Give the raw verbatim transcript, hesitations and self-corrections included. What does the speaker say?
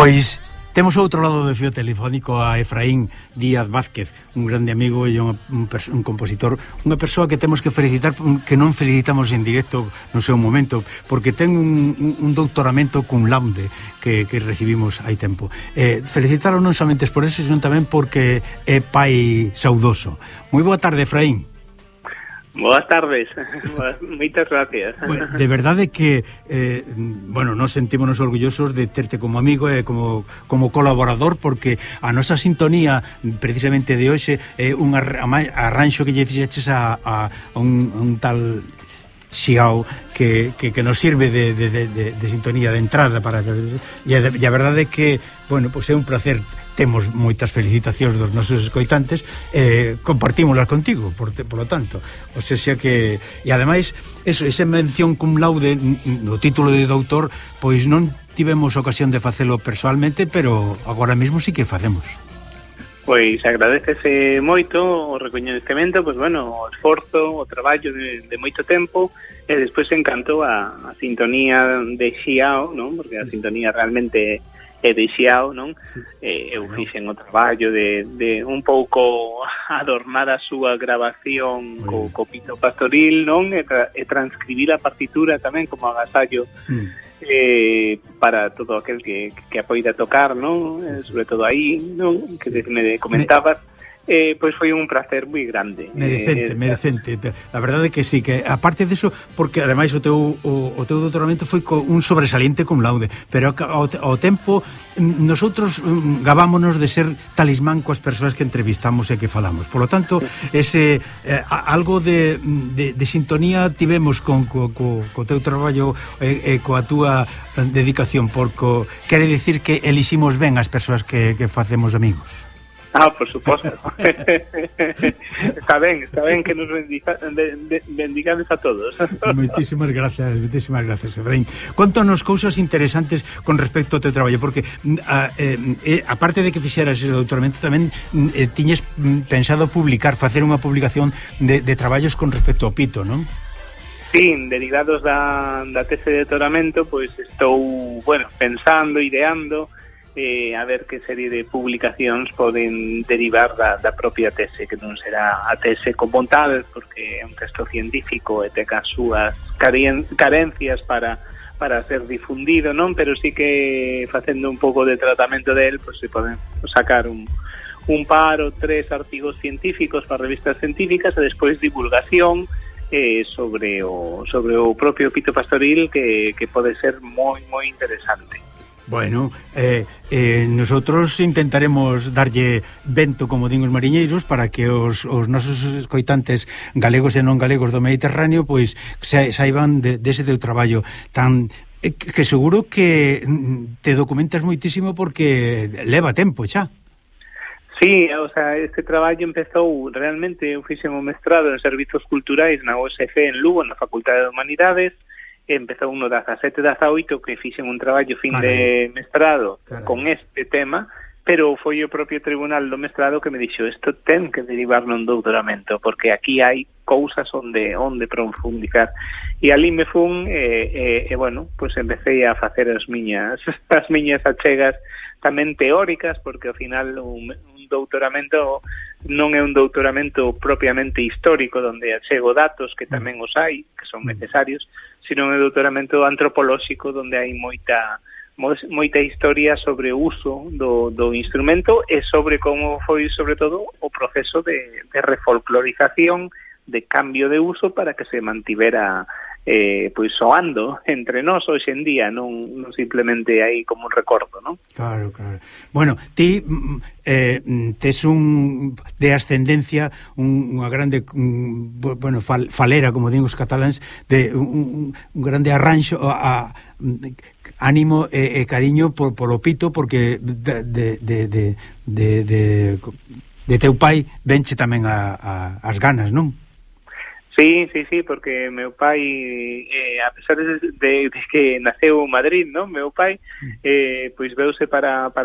Pois temos ao outro lado do fío telefónico a Efraín Díaz Vázquez, un grande amigo e un, un, un compositor, unha persoa que temos que felicitar, que non felicitamos en directo no seu momento, porque ten un, un, un doutoramento cum laude que, que recibimos hai tempo. Eh, felicitalo non somente por eso, sino tamén porque é pai saudoso. Moi boa tarde, Efraín. Boas tardes, moitas gracias. Bueno, de verdade que eh, bueno, nos sentímonos orgullosos de terte como amigo e eh, como, como colaborador, porque a nosa sintonía precisamente de hoxe é eh, un arranxo que lle fixeches a, a, a, un, a un tal Xiao que, que, que nos sirve de, de, de, de, de sintonía de entrada para, e a, e a verdade é que, bueno, pois é un placer. Temos moitas felicitacións dos nosos escoitantes, eh, compartímolas contigo, por, por lo tanto, o sea, xa que, e ademais eso, esa mención cum laude no título de doutor, pois non tivemos ocasión de facelo persoalmente, pero agora mesmo sí que facemos. Pois agradecese moito o recoñecemento, pois bueno, o esforzo, o traballo de, de moito tempo, e despois encantou a, a sintonía de Xiao, non? Porque a sintonía realmente é de Xiao, non? Sí. Eh, eu fixen o traballo de, de un pouco adornar a súa grabación co, co pito pastoril, non? E, tra, e transcribir a partitura tamén como agasallo mm. eh, para todo aquel que, que apoida tocar, non? Eh, sobre todo aí, non? Que me comentabas. Eh, pois foi un placer moi grande. Merecente, eh, merecente. A verdade é que sí, que aparte diso, porque ademais o teu o, o teu doutoramento foi co un sobresaliente cum laude, pero ao, ao tempo nosotros gabámonos de ser talismán coas persoas que entrevistamos e que falamos. Por lo tanto, ese eh, algo de, de, de sintonía tivemos con co, co, co teu traballo e, e coa túa dedicación, porque quere dicir que eliximos ben as persoas que, que facemos amigos. Ah, por suposto. Está ben, está ben que nos bendiga, de, bendigades a todos. Moitísimas gracias, moitísimas gracias, Efraín. Contanos cousas interesantes con respecto ao teu traballo, porque a, eh, aparte de que fixeras ese doutoramento, tamén eh, tiñes pensado publicar, facer unha publicación de, de traballos con respecto ao pito, non? Sí, derivados da, da tese de doutoramento, pois estou, bueno, pensando, ideando, Eh, a ver que serie de publicacións poden derivar da, da propia tese, que non será a tese como tal, porque é un texto científico e ten as súas carencias para, para ser difundido, non? Pero sí que facendo un pouco de tratamento del, pues se poden sacar un, un par ou tres artigos científicos para revistas científicas e despois divulgación eh, sobre o sobre o propio pito pastoril, que, que pode ser moi, moi interesante. Bueno, eh, eh, nosotros intentaremos darlle vento, como din os mariñeiros, para que os, os nosos escoitantes galegos e non galegos do Mediterráneo pois sa, saiban de, dese teu traballo tan eh, que seguro que te documentas moitísimo porque leva tempo xa. Sí, o sea, este traballo empezou realmente, eu fixen un mestrado en Servizos Culturais na U S C en Lugo, na Facultade de Humanidades. Empezou no dezasete dezaoito que fixen un traballo fin Carai. de mestrado Carai. con este tema, pero foi o propio tribunal do mestrado que me dixo isto ten que derivar nun doutoramento, porque aquí hai cousas onde onde profundizar. E ali me fun e, e, e bueno, pues empecé a facer as miñas as miñas achegas tamén teóricas, porque ao final un, un doutoramento non é un doutoramento propiamente histórico onde achego datos, que tamén os hai, que son necesarios, sino un doutoramento antropolóxico onde hai moita moita historia sobre o uso do, do instrumento e sobre como foi, sobre todo, o proceso de, de refolclorización, de cambio de uso para que se mantivera eh, pois soando entre nós hoxe en día, non, non simplemente aí como un recordo, non? Claro, claro. Bueno, ti eh, tes un de ascendencia un, unha grande un, bueno, fal, falera, como din os cataláns, de un, un grande arranxo a, a ánimo e, e cariño por, por o pito, porque de, de, de, de, de, de, de teu pai venche tamén a, a, as ganas, non? Sí, sí, sí, porque meu pai, eh, a pesar de, de, de que naceu en Madrid, non? Meu pai, eh, pois veuse para, para